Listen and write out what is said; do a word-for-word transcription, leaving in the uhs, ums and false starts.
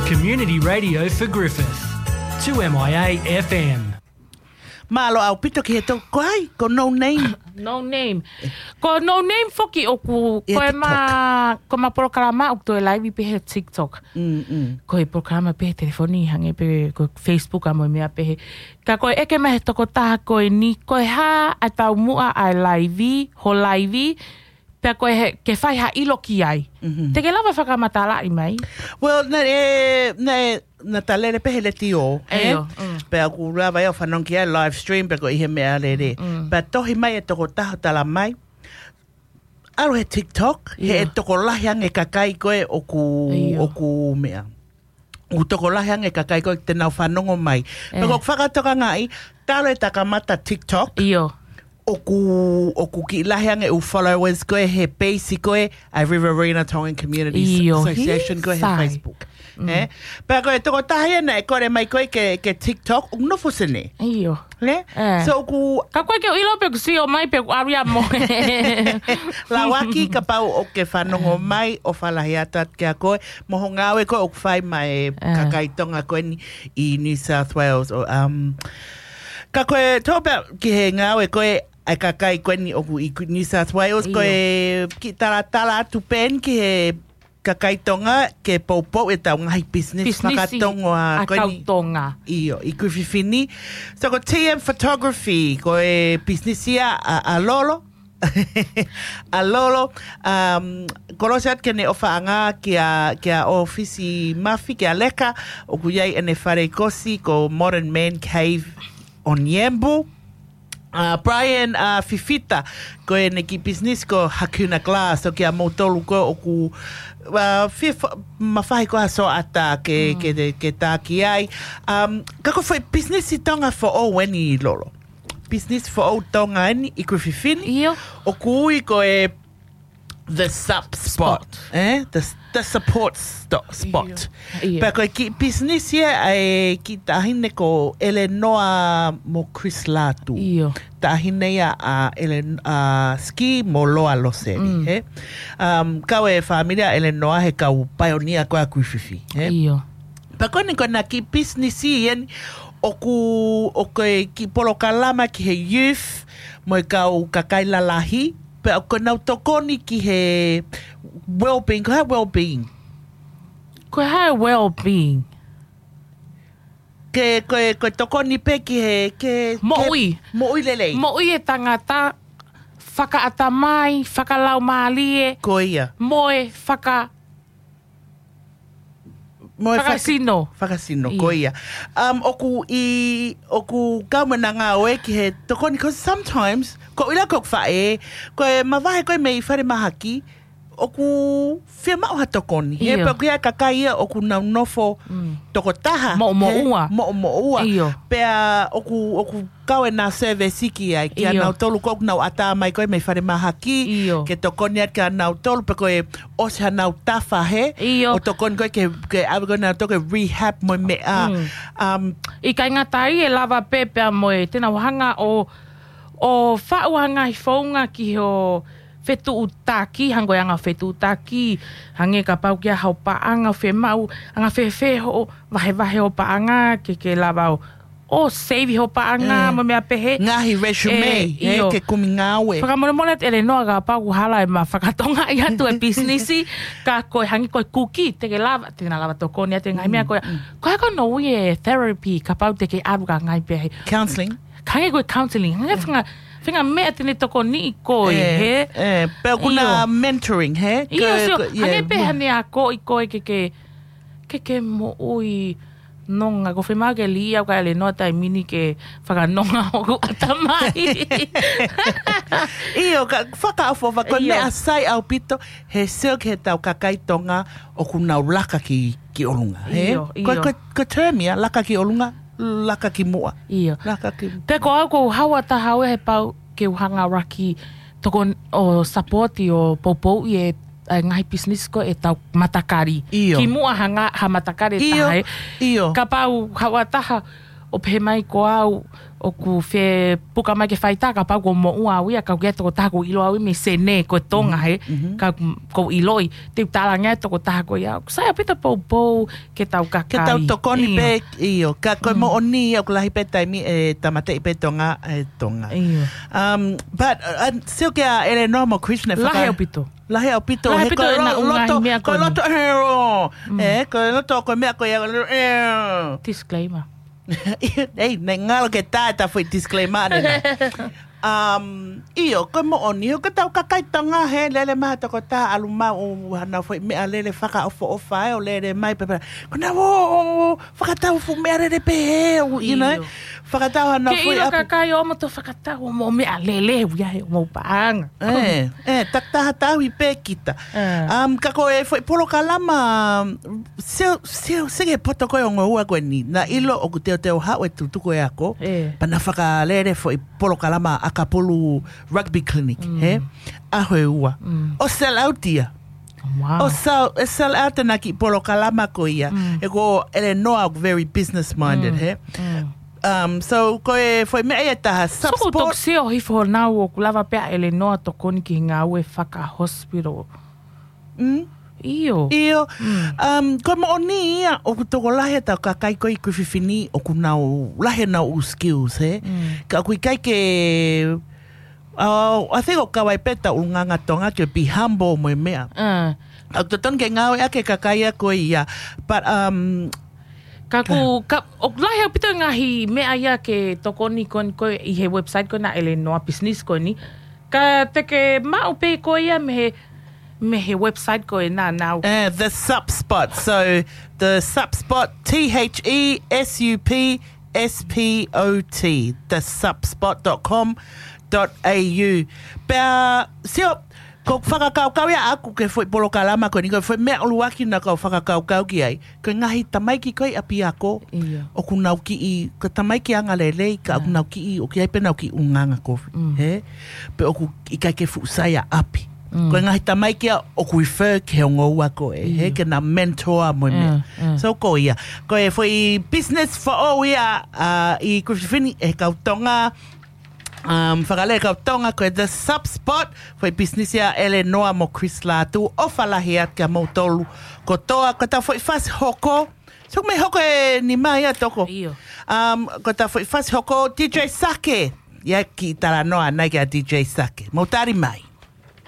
Community Radio for Griffith, two M I A F M. Mālō ʻaupito ki he tokoua, ko No Name. No Name. Ko No Name foki ʻoku, ʻIa ko e TikTok. ma, ko ma polokalama ʻoku toe laivi pē he TikTok. Mm, mm. Ko e polokalama pē he telefoni hangē pē ko Facebook ʻa mo e meʻa pē he. Ka ko e ʻeke mai he tokotaha ko eni, ko e hā ʻa e taumuʻa ʻa e laivi, ho laivi, pea ko e he, ke fai ha ʻilo ki ai. Mhm. Te ke lava fakamatalaʻi mai. Well, naʻe, naʻe, naʻa ta lele pē he letiō, ʻe? ʻIo, mm. Pea ʻoku lava ia ʻo fanongo ki ai live stream, pea ko e ʻi he meʻalele. Mm. Pea tohi mai e tokotaha ʻo tala mai, ʻalu he TikTok, he ʻIo. ʻe tokolahi ange kakai ko ē ʻoku, ʻIo. ʻoku meʻa. ʻOku tokolahi ange kakai ko ē te nau fanongo mai. Pea ʻE. ko e fakatokangaʻi, talo e takamata TikTok. ʻIo. ʻOku, ʻoku kiʻi lahi ange ʻū followers ko ē he peisi ko ē ʻa e Riverina Tongan Community ʻIo, Association ko ē he sai. Facebook. Mm. ʻE? Pea ko e tokotaha ia naʻe kole mai ko ē ke, ke TikTok, ʻoku nofo Senē. ʻIo. Ne? ʻE. So ʻoku Ka ko e ke ʻilo pē ʻoku sio mai pē ʻoku ʻalu ia mo. Lauaki kapau ʻoku ke fanongo mai ʻofa lahi atu atu kia koe, mo ho ngāue ko ē ʻoku fai mai ʻE. kakai Tonga ko eni ʻi New South Wales. ʻO, um, ka ko e tō pē ki he ngāue ko ē ʻa e kakai ko eni ʻoku ʻi New South Wales, ko ʻIo. e kiʻi talatala atu pē eni ki he kakai Tonga ke poupou ʻetau ngaahi business Pisinisi fakatonga ʻa ko eni. kau Tonga. ʻIo, ʻi Kuififini. So ko T M Photography, ko e business ia ʻa, ʻa Lolo. ʻA Lolo, um, kolosi atu ke ne ʻofaʻanga kia, kia ʻOfisi Mafi, kia Leka, ʻoku ʻi ai ʻene fale kosi, ko Modern Man Cave on Yambu. Uh, Brian, uh, Fifita, ko ʻene kiʻi business ko Hakuna Glass, so kia moutolu ko ē ʻoku, uh, fif-, mafahi ko ha soata ke, Mm. ke, ke taki ai. Um, ka ko e foʻi business ʻi Tonga foʻou eni Lolo. Business foʻou Tonga eni ʻi Kuififini. ʻIo. ʻOku ui ko e The Sub Spot. Spot. ʻE? The, the Support sto-, Spot. ʻIo. ʻIo. Pea ko e kiʻi business ia ʻa e kiʻi taʻahine ko Eleanor mo Chris Latu. ʻIo. Taʻahine ia ʻa Elen-, ʻa Ski mo Loa Loseli, Mm. he? Um, kau e fāmili ʻa Eleanor he kau paionia ko ē ʻa Kuififi, he? ʻIo. Pea ko eni ko ʻena kiʻi business eni ʻoku, ʻoku ʻi ai e kiʻi polokalama ki he youth mo e kau kakai lalahi, pea ʻoku nau tokoni ki he well-being, ko e hā e well-being? Ko e hā e well-being? Ke, ko e, ko e tokoni pē ki he, ke, ke Moʻui. moʻui lelei. Moʻui e tangata, fakaʻatamai, fakalaumālie, Ko ia. mo e faka- Mo e faka- Fakasino. Fakasino, Ia. ko ia. Um, ʻoku ʻi, ʻoku kau mo ʻena ngāue ki he tokoni, 'cause sometimes, ko ʻila ko faʻē, ko e mavahe ko ē mei falemahaki, ʻoku fiemaʻu ha tokoni. He ʻIo. pea ʻoku ʻi ai e kakai ia ʻoku nau nofo Mm. tokotaha. Moʻomoʻua. He, moʻomoʻua. ʻIo. Pea ʻoku, ʻoku kau ʻena service ki ai, kia ʻIo. nautolu ko ē ʻoku nau ʻatā mai ko ē mei falemahaki, ʻIo. ke tokoni atu kia nautolu, pe ko e ʻosi hanau tafa he, ʻIo. ʻo tokoni ko ē ke, ke ʻave ko ē nautolu ke rehab mo e meʻa. Mm. Um, ʻIkai ngata ai ʻe lava pē pea mo e te nau hanga ʻo, ʻo faʻu ha ngaahi founga ki ho fetuʻutaki, hangē ko e anga fetuʻutaki, hangē kapau ʻoku ʻi ai haʻo paʻanga ʻoku fiemaʻu, anga fēfē hoʻo vahevahe hoʻo paʻanga, ke, ke lava ʻo, ʻo save hoʻo paʻanga, ʻE. mo e meʻa pehē. Ngaahi resume, ʻE, ʻe, ʻio. ke kumi ngāue. Fakamolemole atu Eleanor kapau ʻoku hala ʻema fakatongaʻi atu e business, ka ko e hangē ko e kuki, te ke lava, te na lava tokoni atu e ngaahi Mm, meʻa ko ē. mm. Ko e hā ko hono ui e therapy, kapau te ke ʻalu ki ha ngaahi pehē. Counselling. Hangē ko e counselling. Hangē fanga, fanga meʻa te ne tokoniʻi koe, ʻE, he? ʻE, pea ʻoku na ʻIo. mentoring, he? ʻIo, Ko, sio, ko, hangē yeah, pē mo- hane akoʻi koe ke, ke, ke, ke moʻui nonga. ʻOku fiemaʻu ke lī au ka Eleanor taimi ni ke fakanonga hoku ʻatamai. ʻIo, ka fakaʻofoʻofa, ko e ʻIo. meʻa sai ʻaupito, he sio ki heʻetau kakai Tonga ʻoku nau laka ki, ki ʻolunga, he? ʻIo, Ko, ʻio. ko, ko e term ia, laka ki ʻolunga, laka ki muʻa. ʻIo. Laka ki Pea ko au ʻoku ou haʻu ʻo taha au he pau ke u hanga ʻo laka tokoni ʻo support ʻo poupouʻi e, e ngaahi business ko ē ʻetau matakali. ʻIo. Ki muʻa ha nga-, ha matakali ʻe ʻIo, taha, ʻe. ʻio. Kapau haʻu ʻo taha ʻO pehē mai ko au, ʻoku fie puka mai ke fai tā, kapau ʻoku moʻua au ia, ka ʻoku ʻi ai e tokotaha ʻoku ʻilo au ia mei Senē, ko Tonga he, ka ʻoku ʻiloʻi, te u talaange tokotaha ko ia. ʻOku sai ʻaupito poupou ke tau kakai. Ke tau tokoni pē, ʻio. Ka ko e moʻoni, ʻoku lahi pē taimi ʻe tāmateʻi pē Tonga, ʻe Tonga. ʻIo. Um, but, uh, uh, sio kia ʻElenoa mo Chris ne faka- Lahi ʻaupito. Lahi ʻaupito, Lahi he ʻaupito ko e ʻena lo-, ʻū ngaahi loto, meʻa ko e ko eni. Loto, ʻe, ʻe, ko e loto ko e meʻa ko ia, ʻe. Disclaimer. Ei, ne ngalo ke tā e ta foʻi disclaimer ne na. Um, ʻio, ko e moʻoni, ʻoku tau kakai Tonga he lele mai ha tokotaha ʻalu maʻu hano foʻi meʻa lele fakaʻofoʻofa ʻe ʻo lele mai pē pē. Ko ena ʻo, ʻo, ʻo, fakatau fuʻu meʻa lele pē he, ʻo, you know? ʻIo. Fakatau hano Ke foʻi ʻilo ʻapi. Kakai ʻo mo to fakatau mo meʻa lele, ʻuia he mo paʻanga. ʻE, ʻe, takitaha tauhi pē kita. ʻE. Um, ka ko e foʻi polokalama, sio, sio, sio ki he poto ko ē ʻo ngoua ko eni. Na ʻilo ʻoku teuteu haʻu e tutuku e ako. ʻE. Pea na fakalele foʻi polokalama ʻakapulu rugby clinic, he? ʻAho ʻe ua. ʻO sell out ia. Wow. ʻO sell, ʻe sell out ʻena kiʻi polokalama ko ia. ʻE ko ʻElenoa very business minded, he? Um, so, ko e foʻi meʻa ia ʻe taha, So, ko Subsport. Toku sio hifo nau ʻoku lava pē ʻa ʻElenoa tokoni ki he ngāue faka-hospital. Mm. ʻIo. ʻIo. Um, ko e moʻoni ia, ʻoku tokolahi ʻetau kakai ko ē ʻi Griffith ni, ʻoku nau lahi ʻenau ʻū skills, he? Ka ʻoku ʻikai ke, uh, I think ʻoku kau ai pē ʻetau ʻulungaanga Tonga ke be humble mo e meʻa. ʻE. ʻOku totonu ke ngāueʻaki e kakai ia ko ia. But, um, Ka ʻoku, ka, ʻoku lahi ʻaupito e ngaahi meʻa ia ke tokoni ko eni ko ē ʻi he website ko ena ʻElenoa business ko eni. Ka te ke maʻu pē ko ia mei he, mei he website ko ena nau. Uh, the Subspot. So, the Subspot, T H E S U P S P O T, the subspot dot com dot A U. Pea, sio, ko e fakakaukau ia ʻaku ki he foʻi polokalama ko eni, ko e foʻi meʻa ʻuluaki naʻa ku fakakaukau ki ai. Ko e ngaahi tamaiki ko ē ʻi ʻapiako, ʻIo. ʻoku nau kiʻi, ko e tamaiki angalelei, ka ʻoku nau kiʻi, ʻoku ʻi ai pē ʻenau kiʻi ʻulungaanga kovi, he? Pe ʻoku ʻikai ke fuʻu sai ʻa ʻapi. Ko e ngaahi tamaiki ia ʻoku refer ki he ongo ua ko ē, he? Ke na mentor mo e meʻa. So ko ia. Ko e foʻi business foʻou ia, uh, ʻi Griffith ni ʻe he kau Tonga, um, fakalele kau Tonga ko e The Subspot, foʻi business ia ʻElenoa mo Chris Lātū, ʻofa lahi atu kia moutolu kotoa, ko ʻeta foʻi fasi hoko, so mei hoko e nima ia toko. ʻIo. Um, ko ʻeta foʻi fasi hoko, D J Sake, ia kiʻi talanoa ʻanai kia D J Sake. Mou tali mai.